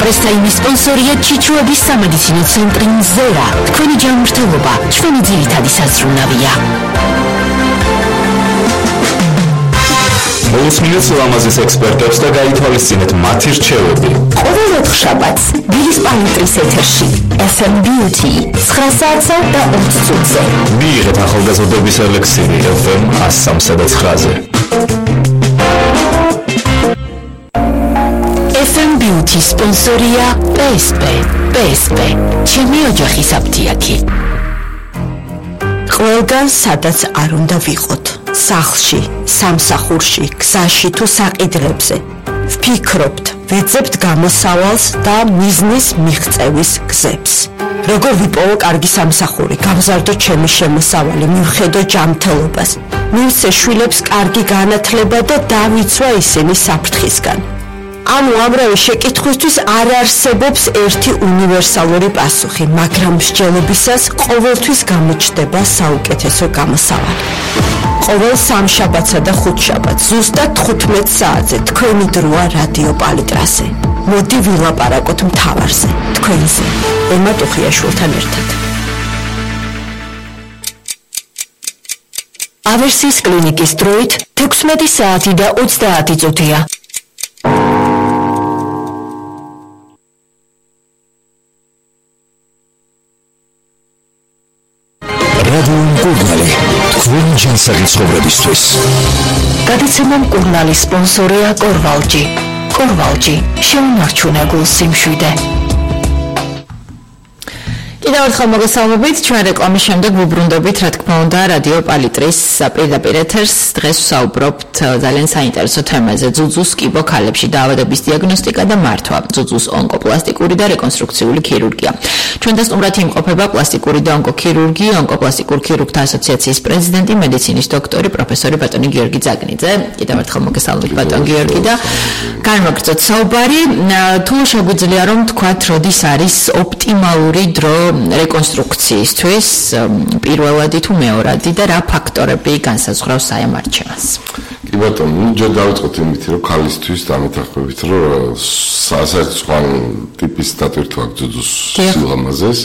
პრესტაიმის სპონსორია ჩიჩუების სამედიცინო ცენტრი მზერა. თქვენი ჯანმრთელობა ჩვენი ძირითადი საზრუნავია. მოусმინეთ ლამაზის ექსპერტებს და გაითვალისწინეთ მათი რჩევები. ყოველ ოთხშაბათს დილის პალიტრის ეთერში FM Beauty 9 საათსა და 20 წუთზე. მიიღეთ ახალგაზრდობის ელექსირი FM 103 და 9-ზე. FM Beauty სპონსორია PSP. ჩემი ოჯახის აფთიაქი. ყველგან სადაც არ უნდა ვიყოთ. სახლში, სამსახურში, გზაში თუ საყიდრებზე. ვფიქრობთ, ვეძებთ გამოსავალს და მიზნის მიღწევის გზებს. როგორ ვიპოვო კარგი სამსახური, გავზარდო ჩემი შემოსავალი, მივხედო ჯანმრთელობას. მივცე შვილებს კარგი განათლება და დავიცვა ისინი საფრთხისგან. ანუ ამრავი შეკითხვისთვის არ არსებობს ერთი უნივერსალური პასუხი, მაგრამ მსჯელობისას ყოველთვის გამოჩნდება საუკეთესო გამოსავალი. ყოველ სამშაბათსა და ხუთშაბათს ზუსტად 15 საათზე თქვენი დროა რადიო პალიტრაზე. მოდი ვილაპარაკოთ მთავარზე, თქვენზე, ელმა ტუხიაშვილთან ერთად. ავერსის კლინიკის დროით 16 საათი და 30 წუთია. რადიო მკურნალი, თქვენი ჯანსაღი ცხოვრებისთვის. გადაცემა მკურნალის სპონსორია კორვალჯი. კორვალჯი, შეუნარჩუნე გულს სიმშვიდე. კიდევ ერთხელ მოგესალმებით, ჩვენ რეკლამის შემდეგ ვუბრუნდებით, რა თქმა უნდა, რადიო პალიტრის პირდაპირ ეთერს. დღეს ვსაუბრობთ ძალიან საინტერესო თემაზე: ძუძუს კიბო ქალებში დაავადების დიაგნოსტიკა და მართვა, ძუძუს ონკოპლასტიკური და რეკონსტრუქციული ქირურგია. ჩვენ დასტუმრად იმყოფება პლასტიკური და ონკოქირურგი, ონკოპლასტიკურ ქირურგთა ასოციაციის პრეზიდენტი, მედიცინის დოქტორი, პროფესორი ბატონი გიორგი ძაგნიძე. კიდევ ერთხელ მოგესალმებით, ბატონ გიორგი და განვაგრძოთ საუბარი. თუ შეგვიძლია რომ თქვათ, როდის არის ოპტიმალური დრო რეკონსტრუქციისთვის, პირველადი თუ მეორადი და რა ფაქტორები განსაზღვრავს აი ამ არჩევანს? კი ბატონო, ჯერ დავიწყოთ იმით, რომ ქალისთვის დამეთანხმებით, რომ საერთო ტიპის დატვირთვა აქვს ძუძუს სილამაზეს.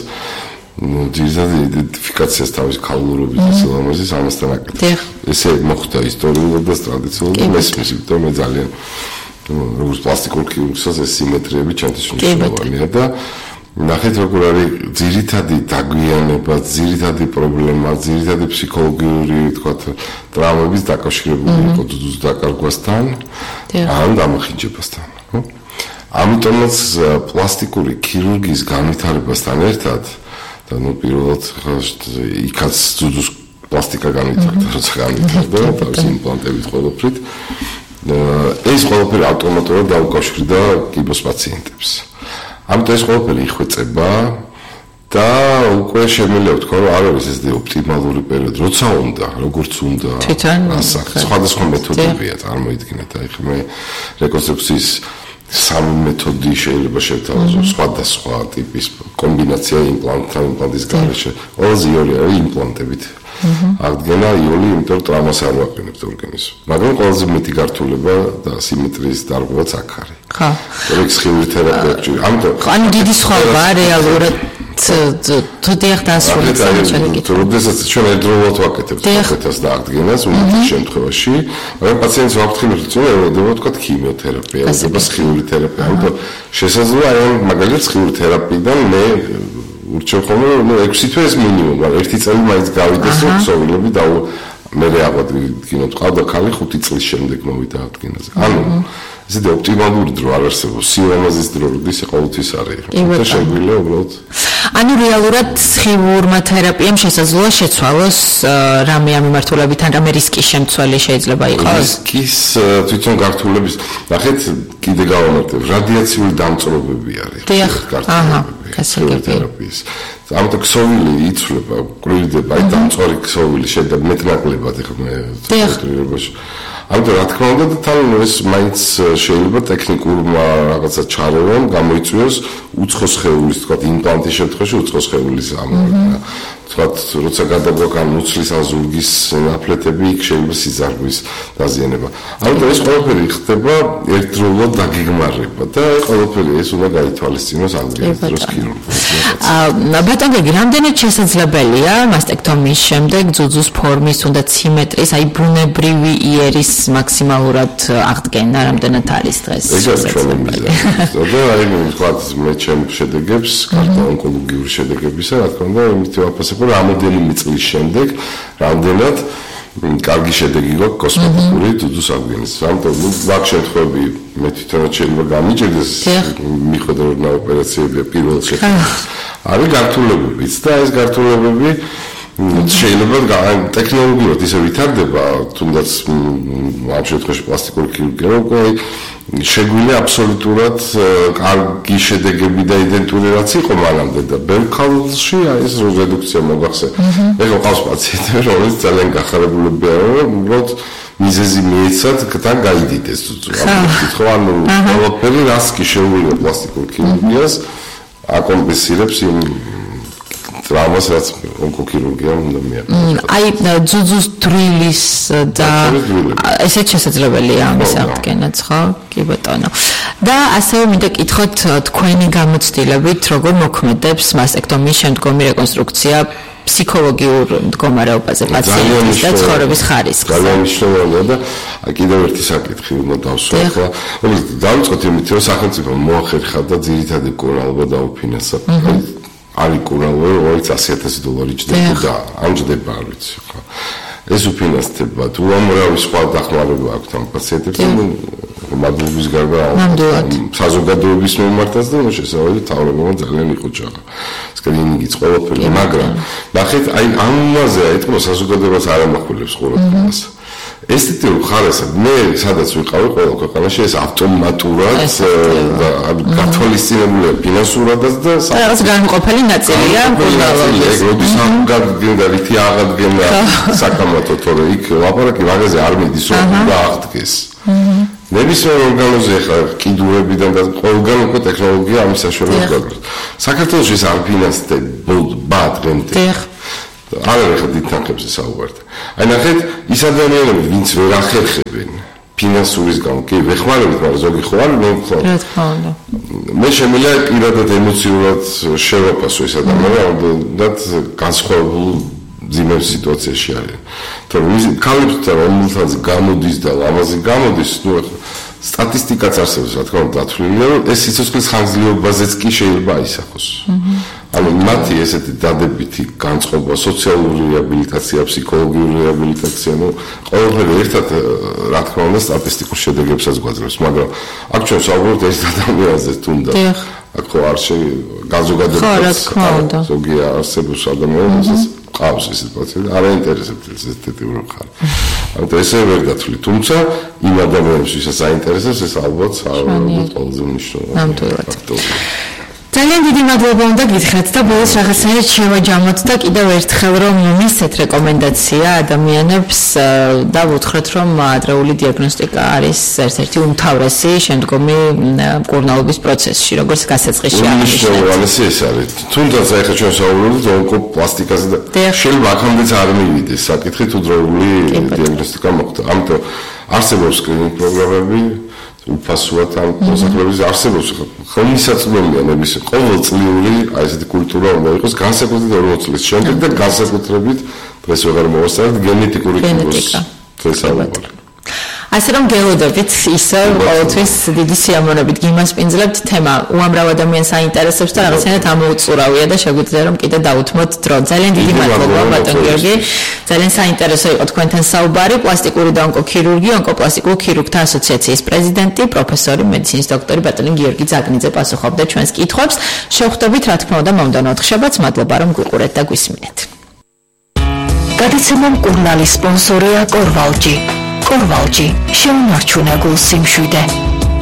ძირითადად იდენტიფიკაციას თავის ქალურობის და სილამაზის ამასთან აკეთებს. ესე მოხდა ისტორიულად და ტრადიციულად მესმის, იმიტომ მე ძალიან როგორც პლასტიკურ ქირურგსაც ეს სიმეტრიები ჩემთვის მნიშვნელოვანია და ნახეთ როგორ არის ძირითადი დაგვიანება, ძირითადი პრობლემა, ძირითადი ფსიქოლოგიური, თქვათ, ტრავმების დაკავშირებული იყო ძუძუს დაკარგვასთან, ან დამახინჯებასთან, ხო? ამიტომაც პლასტიკური ქირურგიის განვითარებასთან ერთად და პირველად იქაც ძუძუს პლასტიკა განვითარდა, როცა განვითარდა, თავის იმპლანტებით ყველაფრით. ეს ყველაფერი ავტომატურად დაუკავშირდა კიბოს პაციენტებს. ამიტომ ეს ყველაფერი იხვეწება და უკვე შემიძლია ვთქვა, რომ არ არის ეს ოპტიმალური პერიოდი, როცა უნდა, როგორც უნდა. სხვადასხვა მეთოდებია, წარმოიდგინეთ, აი ხე მე რეკონსტრუქციის სამი მეთოდი შეიძლება შევთავაზო, სხვადასხვა ტიპის კომბინაცია იმპლანტის გარეშე. ყველაზე იოლი არის იმპლანტებით. აღდგენა იოლი, იმიტომ რომ ტრავმას არ ვაყენებთ ორგანიზმს. მაგრამ ყველაზე მეტი გართულება და სიმეტრიის დარღვევაც აქ არის. ხო. სხეული თერაპია ჭირდება. ამიტომ ანუ დიდი სხვაობაა რეალურად თუ დიახ დასრულდა ჩაკეთება. როდესაც ჩვენ ერთდროულად ვაკეთებთ საკეთას და აღდგენას უმეტეს შემთხვევაში, მაგრამ პაციენტს ვაფრთხილებ, რომ ელოდება თქვა ქიმიოთერაპია, ელოდება სხეული თერაპია. ამიტომ შესაძლოა აი მაგალითად სხეული თერაპიიდან მე ურჩევ ხოლმე 6 თვე ეს მინიმუმ, მაგრამ 1 წელი მაინც გავიდეს რომ ქსოვილები და მე აღადგინოთ, ყავდა ქალი 5 წლის შემდეგ მოვიდა აღდგენაზე. ანუ ესე ოპტიმალური დრო არ არსებობს, სილამაზის დრო როდის ყოველთვის არის. და შეგვიძლია უბრალოდ ანუ რეალურად სხიურმა თერაპიამ შესაძლოა შეცვალოს რამე ამ მიმართულებიდან, რამე რისკის შემცველი შეიძლება იყოს? რისკის თვითონ გართულების, ნახეთ, კიდე გავამართებ, რადიაციული დამწრობები არის. თერაპიის. ამიტომ ქსოვილი იცვლება, კვირდება, აი დამწვარი ქსოვილი შეიძლება მეტნაკლებად ეხლა თეატრირებაში. ამიტომ რა თქმა უნდა, თან ეს მაინც შეიძლება ტექნიკურმა რაღაცა ჩარევამ გამოიწვიოს უცხო სხეულის, თქვა იმპლანტის შემთხვევაში უცხო სხეულის ამოღება. თქვათ, როცა გადაგვაკან მუცლის ან ზურგის ნაფლეთები, იქ შეიძლება სიზარგვის დაზიანება. ამიტომ ეს ყველაფერი ხდება ერთდროულად დაგეგმარება და ყველაფერი ეს უნდა გაითვალისწინოს აღდგენის დროს ქირურგიას. ბატონ გიგი, რამდენად შესაძლებელია მასტექტომიის შემდეგ ძუძუს ფორმის უნდა სიმეტრის, აი ბუნებრივი იერის მაქსიმალურად აღდგენა, რამდენად არის დღეს? ეს ჩვენი მიზანი. და აი თქვათ, მე ჩემ შედეგებს, კარტო ონკოლოგიური შედეგებისა, რა თქმა უნდა, იმით ვაფასებ, რომ რამოდენიმე წლის შემდეგ რამდენად კარგი შედეგი გვაქვს კოსმეტიკური ძუძუს აღდგენის. ამიტომ მაგ შემთხვევებში მე თვითონაც შეიძლება გამიჭირდეს მიხვედრე რომ ოპერაციები პირველ შედეგს. არის გართულებებიც და ეს გართულებები შეიძლება ტექნოლოგიურად ისე ვითარდება, თუნდაც ამ შემთხვევაში პლასტიკური ქირურგია, უკვე შეგვიძლია აბსოლუტურად კარგი შედეგები და იდენტური რაც იყო მანამდე და ბევრ ქალში ეს რედუქცია მოგახსენე. ეხლა ყავს პაციენტები, რომელიც ძალიან გახარებულები არიან, უბრალოდ მიზეზი მიეცათ და გაიდიდეს ძუძუ. ხო, ანუ ყველაფერი რას კი შეუძლია პლასტიკურ ქირურგიას აკომპენსირებს იმ ტრამას რაც ონკოქირურგიამ უნდა მიაყენოს. აი ძუძუს დრილის და ესეც შესაძლებელია ამის აღდგენაც, ხო? კი ბატონო. და ასევე მინდა კითხოთ თქვენი გამოცდილებით, როგორ მოქმედებს მასტექტომიის შემდგომი რეკონსტრუქცია ფსიქოლოგიურ მდგომარეობაზე პაციენტის და ცხოვრების ხარისხზე. ძალიან მნიშვნელოვანია და კიდევ ერთი საკითხი უნდა დავსვათ, რომელიც დავიწყოთ იმით, რომ სახელმწიფო მოახერხა და ძირითადი კურნალობა დაუფინანსა. არის კურნალობა, რომელიც $100,000 ჯდება და ამ ჯდება არ ვიცი ხო. ეს უფინანსდება, თუ ამრავი სხვა დახმარება აქვს ამ პაციენტებს, მადლობის გარდა საზოგადოების მიმართაც და შესაძლოა თავრობამ ძალიან იყო ჯაღა. სკრინინგიც ყველაფერი, მაგრამ ნახეთ, აი ამაზე აიტყვა საზოგადოებას არ ამახვილებს ყურადღებას. ესეთივ ხარეს მე სადაც ვიყავი ყველა ქვეყანაში ეს ავტომატურად გათვალისწინებულია ფინანსურადაც და რაღაც განუყოფელი ნაწილია ეს როდის აღდგენდა რითი აღდგენა საკამათო თორე იქ ლაპარაკი მაგაზე არ მიდის რომ უნდა აღდგეს ნებისმიერ ორგანოზე ხა კიდურებიდან და ყველგან უკვე ტექნოლოგია ამის საშუალებას გაქვს საქართველოს ეს არ ფინანსდება დღემდე არ არის ხა დითანხებზე საუბართ. აი ნახეთ, ის ადამიანები, ვინც ვერ ახერხებენ ფინანსურის გამო, კი, ვეხმარებით, მაგრამ ზოგი ხო არ მოვხვალ. რა თქმა უნდა. მე შემიძლია პირადად ემოციურად შევაფასო ეს ადამიანები, და განსხვავებულ ძიმებ სიტუაციაში არიან. თორემ ქალებთან რომელთაც გამოდის და ლამაზი გამოდის, ნუ სტატისტიკაც არსებობს, რა თქმა უნდა, დათვლილია, რომ ეს სიცოცხლის ხანგრძლივობაზეც კი შეიძლება აისახოს. ანუ მათი ესეთი დადებითი განწყობა, სოციალური რეაბილიტაცია, ფსიქოლოგიური რეაბილიტაცია, ნუ ყველაფერი ერთად, რა თქმა უნდა, სტატისტიკურ შედეგებსაც გვაძლევს, მაგრამ აქ ჩვენ საუბრობთ ეს ადამიანზე თუნდაც. აქ ხო არ განზოგადებაც ზოგი არსებობს ადამიანებსაც ყავს ეს სიტუაცია, არ აინტერესებს ეს ეთიკური ხარ. ამიტომ ესე ვერ დათვლი, თუმცა იმ ადამიანებს, ვისაც აინტერესებს, ეს ალბათ ყველაზე მნიშვნელოვანი ფაქტორია. ძალიან დიდი მადლობა უნდა გითხრათ და ბოლოს რაღაცნაირად შევაჯამოთ და კიდევ ერთხელ რომ მისცეთ რეკომენდაცია ადამიანებს და ვუთხრეთ რომ ადრეული დიაგნოსტიკა არის ერთ-ერთი უმთავრესი შემდგომი მკურნალობის პროცესში, როგორც გასაწყისში აღნიშნული ეს არის. თუნდაც ახლა ჩვენ საუბრობთ ონკოპლასტიკაზე და შეიძლება აქამდეც არ მივიდეს საკითხი თუ დროული დიაგნოსტიკა მოხდა. ამიტომ არსებობს სკრინინგ პროგრამები უფასოა ამ მოსახლეობის არსებობს ხელმისაწვდომია ნების ყოველწლიური აი ესეთი კულტურა უნდა იყოს განსაკუთრებით 40 წლის შემდეგ და განსაკუთრებით დღეს ვეღარ მოვასწრებთ გენეტიკური კიბოს შესაძლებელი. ასე რომ გელოდებით ისე ყოველთვის დიდი სიამოვნებით გიმასპინძლებთ თემა უამრავ ადამიანს აინტერესებს და რაღაცნაირად ამოუწურავია და შეგვიძლია რომ კიდე დავუთმოთ დრო. ძალიან დიდი მადლობა ბატონ გიორგი. ძალიან საინტერესო იყო თქვენთან საუბარი. პლასტიკური და ონკოქირურგი, ონკოპლასტიკურ ქირურგთა ასოციაციის პრეზიდენტი, პროფესორი, მედიცინის დოქტორი ბატონი გიორგი ზაგნიძე პასუხობდა ჩვენს კითხვებს. შევხვდებით რა თქმა უნდა მომდევნო ოთხშაბათს. მადლობა რომ გვიყურეთ და გვისმინეთ. გადაცემა მკურნალის სპონსორია კორვალჯი. კორვალჯი შეუნარჩუნებულ სიმშვიდე.